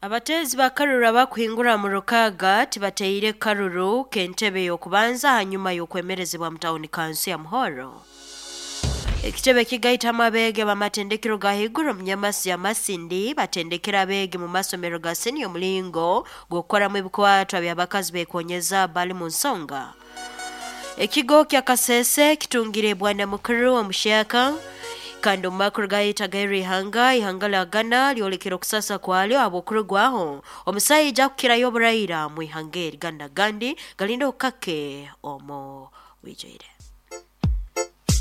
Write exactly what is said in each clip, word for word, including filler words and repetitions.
Abateezi ba karuru abakuhingura mu Rukaga tibateire karuru k'entebe y'okubanza hanyuma y'okwemerezibwa mu tawuni kansi ya Muhoro. Ekitebe kigaitamu abeege b'amatendekero ga haiguru omu Nyamasi ya Masindi batendekera abeegi mu masomero ga senior omulingo gw'okukoramu ebikwatwa by'abakazi beekonyeza bali mu nsonga. Ekigo kya Kasese kitungire bwana mukuru omuhyaka kandi omu makuru gayita ihanga ihanga lya Ghana lyolekera okusasa kwalyo habw'okurugwaho omusaija akukirayo oburaira mu ihanga eri Ghana gandi galinda okukake omu bwijwire.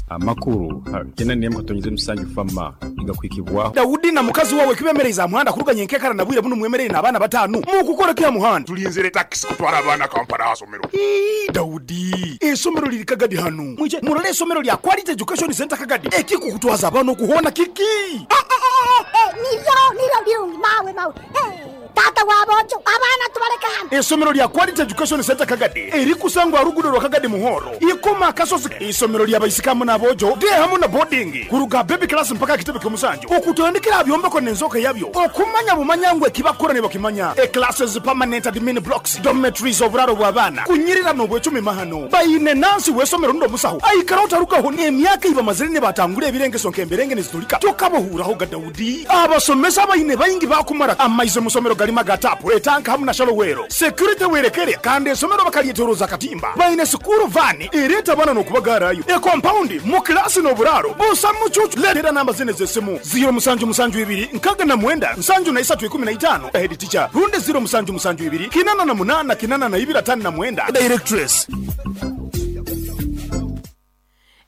Amakuru kena niyemu katonyize musanju fama igakwikibwaho Daudi na mukazi wawe kibemereza muhanda kuruganya enkekara na bwire buno mwemerere n'abaana batanu mukukora kya muhanda tulinzire taxi kutwara abaana Kampala asomero. Ii Daudi esomero liri Kagadi hanu mwije murole esomero lya Quality Education Center Kagadi ekikukutwaza abana okuhona kiki eh, eh, eh, eh, niryo niryo birungi mawe mawe eh. Tata wabojo abana tubareka hano. Esomero lya Quality Education Center Kagadi erikusangwa rugudo rwa Kagadi Muhoro ikoma kasozi. Isomero lya baisikamu n'abojo de hamu na boarding kuruga baby class mpaka kitebe kyomusanju okutandikira byombeko n'enzoka yabyo okumanya bumanyangwe kibakora ne bakimanya e classes permanent admin blocks dormitories oburaro bw'abaana kunyirira n'obwecumi mahano bayine nansi wesomero ndo musaho aikara utarukaho n'emyaka iba mazire ne batangura ebirengeso nk'emberenge nezitulika tokabohuraho ga Daudi abasomesa bayine bayingi bakumara amaize musomero magatapu etanka hamu na shalowero security werekere kandi esomero bakalietoroza katimba bayine sukuru vani ereta bana nokubagarayo e compound mu class no buraro busa mucucu letera namba zine zesimu zero musanju musanju ibiri nkaga na mwenda nsanju na isatu ikumi na itano head teacher runde zero musanju musanju ibiri kinana na munana kinana na ibira tano na mwenda directress.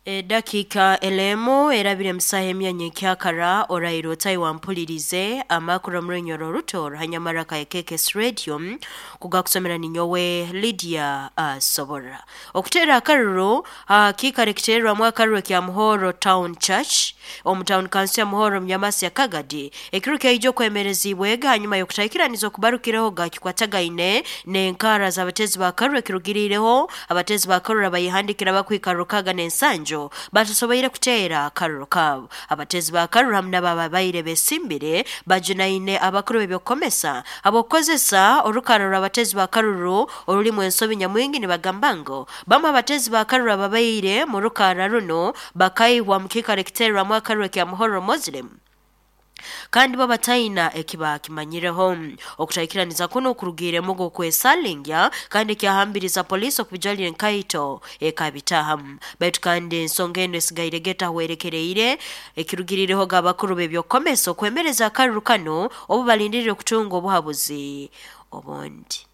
E dakika elemu erabire msahe emyanya kyakara orairo tai mpulirize amakuru murenyoro ruto hanyamara ka K K S Radio kugakusomera ninyowe Lydia uh, Sobora. Okutera akaruru uh, kikare kiterwa akaruru kya Muhoro Town Church omu town council ya Muhoro Mnyamasi ya Kagadi ekiruka ijo kwemerezibwega hanyuma yokutaikiranizo kubarukireho gakikwatagaine n'enkara z'abatezi ba karuru kirugirireho abatezi ba karuru bayihandikira bakwikarukaga n'ensanjo batusoboire kuteera akaruru kabo. Abatezi ba karuru hamwe n'ababaire besimbire bajunaine abakuru b'ebyokukomesa abokukozesa orukaruru abatezi ba karuru orulimu ensobi nyamwingi nibagamba ngo bamwe abatezi ba karuru ababaire mu rukara runo bakaihwa mu kikaro ekiterwamu akaruru kya Muhoro Muslim kandi babataina ekiba kimanyireho. Okutaikiraniza kuno kurugiremo gokwesalingya kandi kyahambiriza polisi okubijalira enkaito ekabitahamu baitu kandi ensonga eno esigaire geta hwerekereire ekirugirireho gabakuru b'ebyokukomesa okwemereza akaruru kano obu balindirire okutunga obuhabuzi obundi.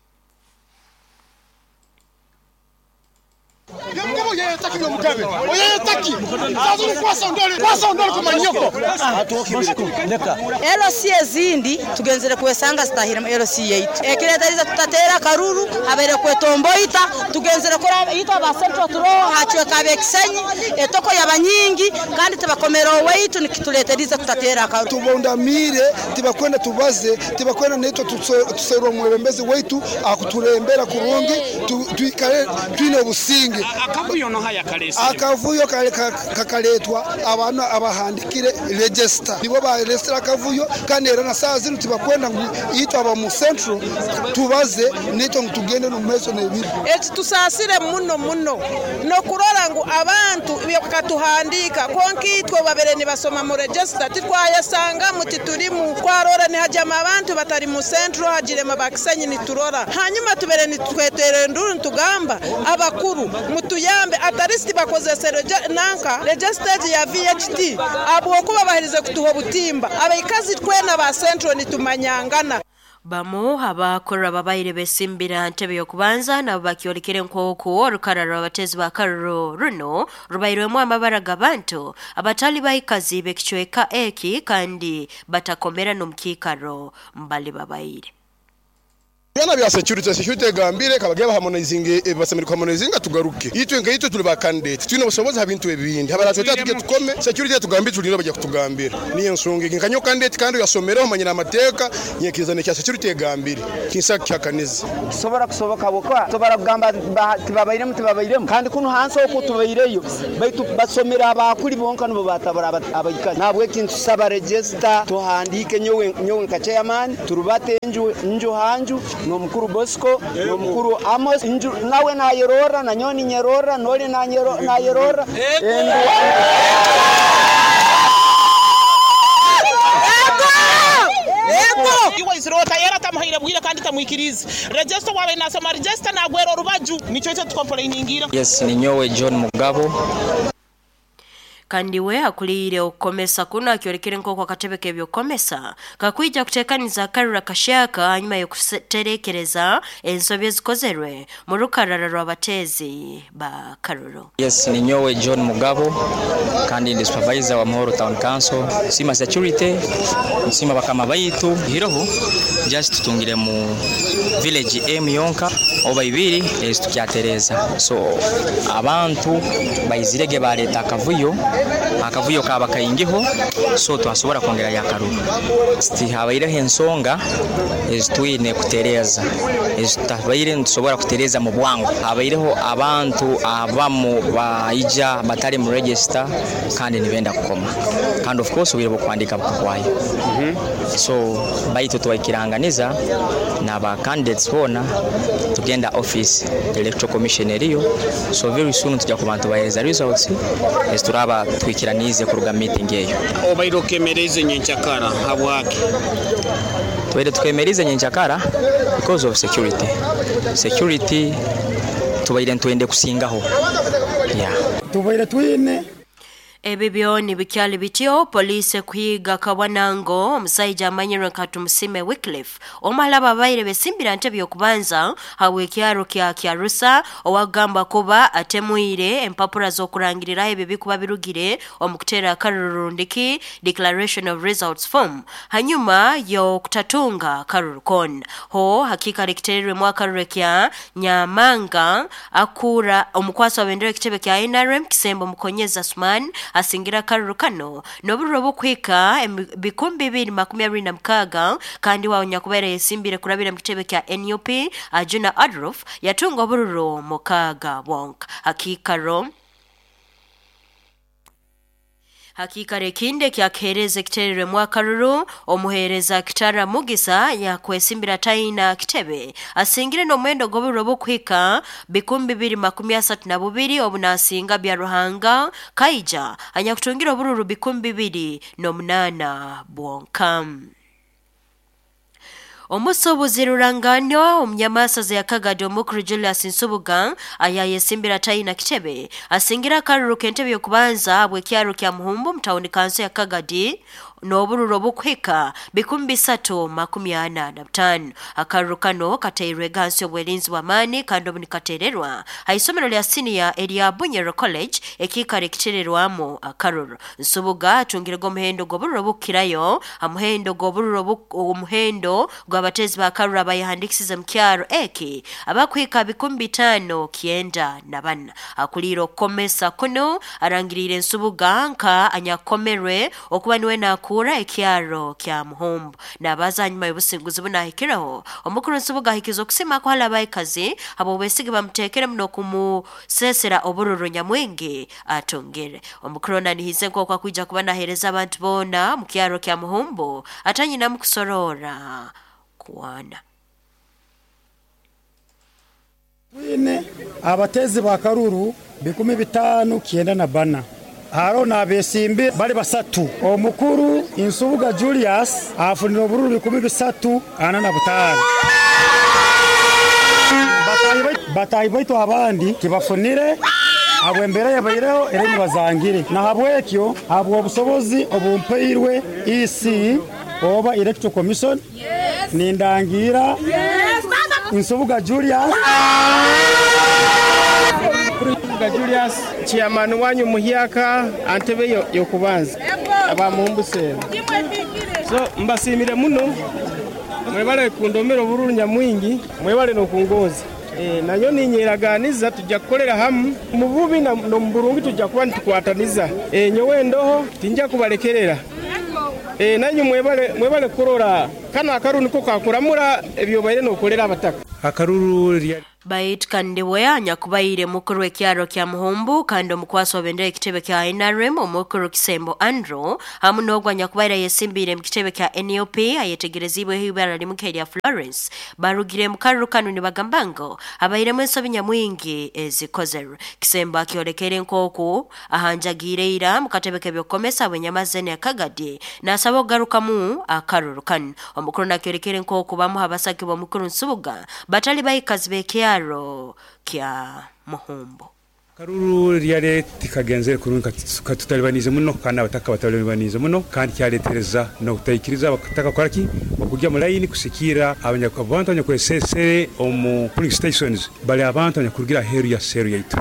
L C ezindi tugenzere kwesanga zitahira mu L C eight ekiretariza tutatera karuru habere kwetomboita tugenzere kora itwa ba central turo hachwe kabekisenyi etoko yabanyingi kandi tibakomera weitu nikituleteriza tutatera karuru tubondamire tibakwenda tubaze tibakwenda netwa tuserwa mwebembezi weitu akuturembera kurungi tuikare twine businge. Akavuyo no haya kalese akavuyo kakaletwa abantu abahandikire register nibo ba register akavuyo kandi era na saa zinu tibakwenda yitwa aba mu central tubaze nito tugende no meso nebiri eti tusasire muno muno no kurora ngu abantu byakatuhandika konkitwe babere ni basoma mu register titwayasanga mutiturimu kwarora ni hajama abantu batari mu central hajire mabakisenyi niturora hanyuma tubere nitwetere nduru tugamba abakuru mutuyambe ataristi bakozese nanka registered ya V H T abwokuba bahirize kutuho butimba abaikazi twena ba central nitumanyangana. Bamu abakora babaire besimbira ntebe yokubanza nabo bakyolekere nk'oku orukararo abatezi ba karuru runo rubairwemu amabara g'abantu abatali baikazi b'ekicweka eki kandi batakomera n'omukiikaro mbali babaire. Byana bya security security gambire kabageba harmonizing basemeri harmonizing tugaruke itwe nka itwe tuli ba candidate twine obusobozi ha bintu ebindi habaratweta tuge tukome security tugambire tulino bajya kutugambira niyo nsonga nkanyo candidate kandi yasomereho manyina amateka nyekizane cya security gambire kinsa kyakaniza sobora kusoboka bokwa sobora kugamba tibabairemu tibabairemu kandi kuno hansi okwo tubaireyo baitu basomera abakuli bonka nibo batabara abaikazi nabwe kintu saba register tuhandike nyowe nyowe nka chairman turubate nju nju hanju nomukuru Bosco nomukuru Amos nju nawe nayerora na nyoni nyerora noli nanyero nayerora Iwe izirota yera tamuhaire bwira kandi tamwikirize register wawe nasoma register nagwera orubaju nico cyo tukomplainingira. Yes, ni nyowe John Mugabo kandi we akulire okukomesa kuno akyorekere nk'oku akatebe k'ebyokukomesa kakwija kuteekaniza akarura kashaka hanyuma y'okuterekereza ensobi ezikozerwe mu rukarara rw'abateezi ba Karuru. Yes, ni nyowe John Mugabo kandi ndi supervisor wa Muhoro Town Council sima security nsima bakama baitu hiroho just tutungire mu village M yonka oba ibiri eztukyatereza so abantu baizirege baleta akavuyo akavuyo kaba kaingiho so twasobora kongera yakaruru siti habaireho ensonga ezitwine kutereza ezitabaire ntusobora kutereza mu bwangu habaireho abantu abamu baija batali mu register kandi nibenda kukoma kandi of course obwire bw'okuhandika bukahwayo mm -hmm. So baitu twaikiranganiza n'aba candidates bona tugenda office electoral commission eriyo so very soon tujya ku bantu bahereza results ezturaba twikiranize kuruga meeting eyo. Obaire okemereze nyenchakara habwake? Tubaire tukemerize nyenchakara because of security security tubaire ntwende kusingaho yeah. Tubaire twine Ebi byoni bikyali bityo police kuhiga Kabwanango omusajja amanyirwe nka Tumusime Wycliffe omala ababaire besimbira ntebe y'okubanza hawe kyaro kya Kyarusa owagamba kuba atemuire empapura z'okurangirira ebyo bikuba birugire omukutera akarurundiki declaration of results form hanyuma y'okutatunga karurukon ho hakika likitererwe mwaka kya Nyamanga akura omukwasi wa bendera ekitebe kya N R M Kisembo Mukonyeza Usman asingira karuru kano nobururo bukwika bikumbi bibiri makumi abiri na mukaga kandi wawo nyakubera yesimbire kurabira mu kitebe kya N U P Ajuna Adolf yatunga obururo mukaga wonka hakikaro Hakika rekinde kya kereze kiterere mwakaruru omuhereza Kitara Mugisa ya kwesimbira taina kitebe asingire no mwendo goburo bukwika bikumbi bibiri makumi asatu na bubiri obunasinga bya Ruhanga Kaija anyakutungira obururu bikumbi bibiri no munana bwonka. Omusuubuzi Ruranganyo omunyamasaza ya Kagadi omukuru Julius Nsubuga ayayesimbira taina kitebe asingira akaruru k'entebe y'okubanza bw'ekyaro kya Muhumbu mutawuni kanso ya Kagadi n'obururo bukwika bikumbi bisatu makumi ana na butano. Akaruru kano kateirwe gansi obwerinzi bw'amaani kandi obunikatererwa haisomero lya senior erya Bunyoro College ekikare kitererwamu akaruru. Nsubuga atungirego omuhendo gw'obururo bukirayo amuhendo gw'obururo omuhendo gw'abatezi ba karuru abayihandikisize mu kyaro eki abakwika bikumbi bitano kienda na bana. Akulira okukomesa kuno arangirire Nsubuga nka anyakomerwe okuba niwe nakura ekyaro kya Muhumbu nabaza nyuma y'obusinguzi bunahikiraho omukuru Nsubuga ahikiza okusima ko halabaikazi abo besige bamutekere muno kumusesera obururu nyamwingi atongere. Omukuru nanihize nko kwakuja kuba nahereza abantu bona mu kyaro kya Muhumbu atanyina mukusorora kuwana. Twine abatezi ba karuru bikumi bitanu kienda na bana haro na besimbi bali basatu omukuru Nsubuga Julius afunira obururu bikumi bisatu ana na butano batayi baitu abandi kibafunire abwembere yabaireho ere bazangire na habwekyo habwo obusobozi obumpeirwe E C oba Electoral Commission yes. Nindangira yes. Nsubuga Julius Nsubuga Julius chairman wanyu muhyaka antebe yokubanza abamumbuse so mbasimire muno Mwebale kundomera obururu nyamwingi, mwebale nokungoza. E, nanyo ninyeraganiza tujja kukolera hamu mu bubi na no mu burungi tujja kuba nitukwataniza. E, nyowe ndoho tinja kubalekerera. E, nanyu mwebale mwebale kurora kano akaruru niko kakuramura ebyo baire nokolera abataka. Akaruru lya Bait kandiwe anyakubaire mukuru w'ekyaro kya Muhumbu kandi omukwasi wabendera ekitebe kya N R M omukuru Kisembo Andrew hamu n'ogwo anyakubaire yesimbire mu kitebe kya N U P ayetegerezibweho ibara limuke lya Florence barugire mu karuru kanu nibagamba ngo abairemu ensobi nyamwingi ezikozerwe. Kisembo akyolekere nk'oku ahanjagiire ira mu katebe k'ebyokukomesa bwenyamazene ya Kagadi n'asaba okugarukamu akaruru kanu. Omukuru nakyolekere nk'oku bamuha abasaki b'omukuru Nsubuga batali baikazi b'ekyaro kya Muhumbu. Karuru ryale tikagenzere kurungi katutalibanize muno kandi abataka batalibanize muno kandi kyaletereza no kutaikiriza abataka koraki okujya mu line kusikira abanyakubantu abanyakwesesere omu polling stations bali abantu abanyakurugira heru ya seru yaitu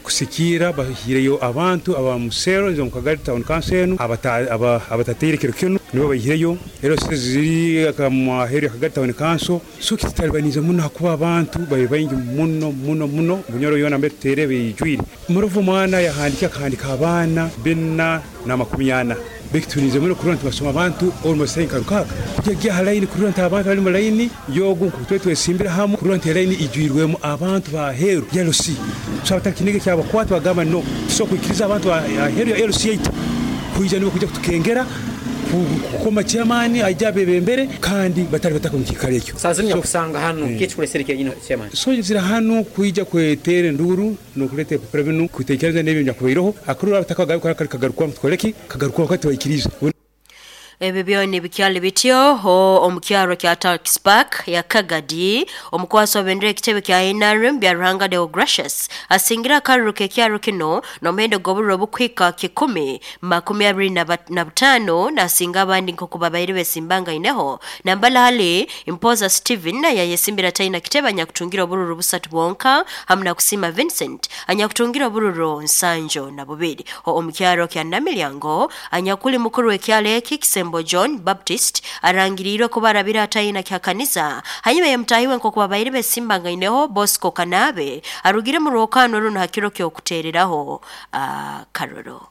kusikira bahireyo abantu aba musero nzo mukagari town council abata abatateire kiro kino nibo bahireyo ero ziri akamwa heru ya Kagari town council so kitalibanize muno hakuba abantu baye bayingi muno muno muno bunyoro yona mbetere bijwire muruvu mwana yahandika akahandika abana bina na makumi ana bekitunize muno kurona tubasoma abantu almost nka rukaka kujya halaini kurona abantu bali mu line yogo kutwe twesimbira hamu kurona line ijwirwemo abantu ba heru ya L C so abatakinige cyabakwata bagamba no so kwikiriza abantu ba heru ya L C eight kuija nibo kujya kutukengera kukoma chairman ajya bebembere kandi batari bataka mu kikare ekyo sazimya kusanga hano kichikuresere nyine chairman so zira hano kuija kwetere nduru no kulete prevenu kutekereza n'ebyo nyakubiroho akurura abataka garuka kagaruka mutkoleki kagaruka wakati waikiriza. Ebyo byoni bikyali bityo ho omukyaro kya Tax Park ya Kagadi omukwasi wabendera ekitebe kya N R M bya Ruhanga Deo Gracious asingira akaruru k'ekyaro kino n'omuhendo gw'obururu obukwika kikumi makumi abiri na butaano nasinga abandi nk'oku babaire besimbangaineho. Nambala hali Impoza Steven yayesimbira taina kitebe anyakutungira obururu busatu bwonka hamu na kusima Vincent anyakutungira obururu nsanjo na bubiri. Ho omukyaro kya Namilyango anyakuli mukuru w'ekyalo eki Kisembo John Baptist arangirirwe kubarabira atayina kya kanisa hanyuma yamtahiwe nko babaire besimbangaineho Bosco Kanabe arugire mu rwokano runo hakiro kyo kutereraho uh, karoro.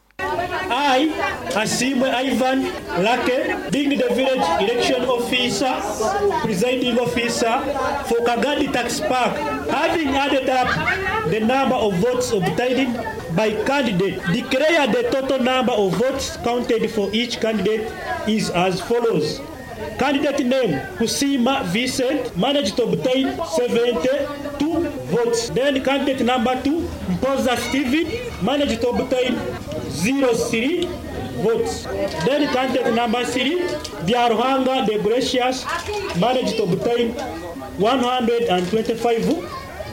I, Asimwe Ivan Lake, being the village election officer, presiding officer for Kagadi Tax Park, having added up the number of votes obtained by candidate, declare the total number of votes counted for each candidate is as follows. Candidate name, Kusima Vincent, managed to obtain seventy-two votes. Then candidate number two, Mpoza Steven, managed to obtain zero three votes. Then candidate number three, Biaruhanga the Gracious, managed to obtain one hundred twenty-five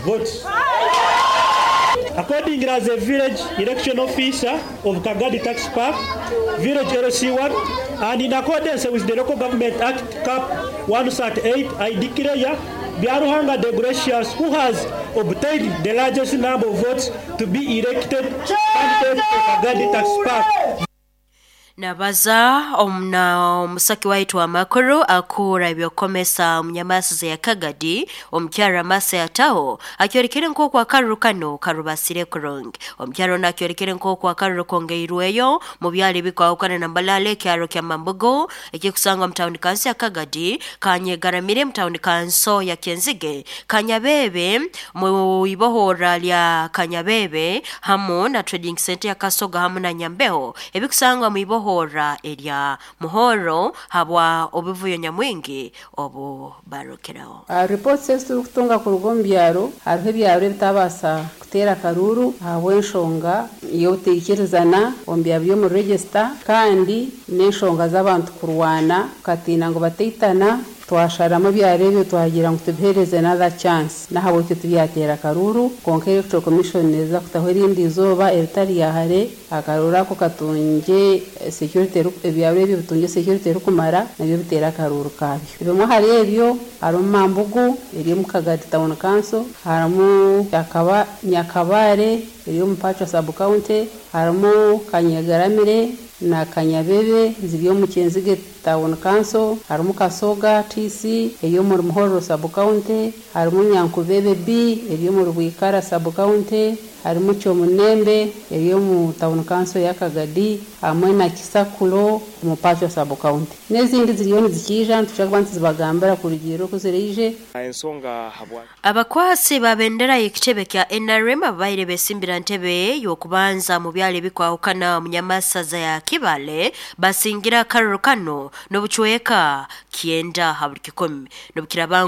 votes. According as a village election officer of Kagadi Tax Park, Village L C one, and in accordance with the Local Government Act, Cap one thirty-eight, I declare Biaruhanga the Gracious, who has obtained the largest number of votes, to be elected candidate for Kagadi Tax Park. Nabaza omna omusaki waitu amakuru akura ebyokomesa omunyamasize ya Kagadi omukyara masa yataho akyorekere nk'oku akaruru kano karubasire kurungi. Omukyara ono akyorekere nk'oku akaruru kongeirweyo mu byalo ebikwahukana na Mbalale ekyaro kya Mambugo ekikusangwa mu tawuni kanso ya Kagadi, Kanyegaramire mu tawuni kanso ya Kenzige, Kanyabebe mu ibohora lya Kanyabebe hamu na trading center ya Kasoga hamu na Nyambeho ebikusangwa mu ibohora hora erya Muhoro habwa obuvuyo nyamwingi obu barokeraho. Uh, reports eziturukutunga kuruga omu byaro hariho ebyaro ebitabasa kuteera karuru ahabw'enshonga y'obuteikirizana omu byaro by'omu register kandi n'enshonga z'abantu kurwana katiina ngu bateitana. Twasharamu ebyaro ebyo twagira ngu tubihereze another chance nahabwekyo tubyatera karuru. Konka Electoral Commission neza kutaho erindi izooba eritari yahare akaruru ako katunge security, ebyaro ebyo bitunge security erikumara nabyo bitera akaruru kabyo. Ebimwe hari ebyo harimu Mambugu eri omu Kagadi Town Council, harimu Nyakabare eri omu Pacho Sub County, harimu Kanyegaramire na Kanyabebe ziri omu Kyenzige Town Council, harimu Kasoga T C eri omuri Muhorro Sub County, harimu Nyankubebe B eri omuri Bwikara Sub County, harimu Kyomunembe eri omu Town Council ya Kagadi, hamwe na Kisakulo omu Pacho Sub County. N'ezindi ziriyo nizikiija, nitushobora kuba nituzibagambira kurugiirira oku ziraije. Ensonga habwa Abakwasi ba bendera y'ekitebe kya N R M ababaire besimbira ntebe y'okubanza mu byalo ebikwahukana mu nyamasaza ya Kibale basingira akaruru kano n'obucweka kyenda ha buli kikumi n'obukiraba.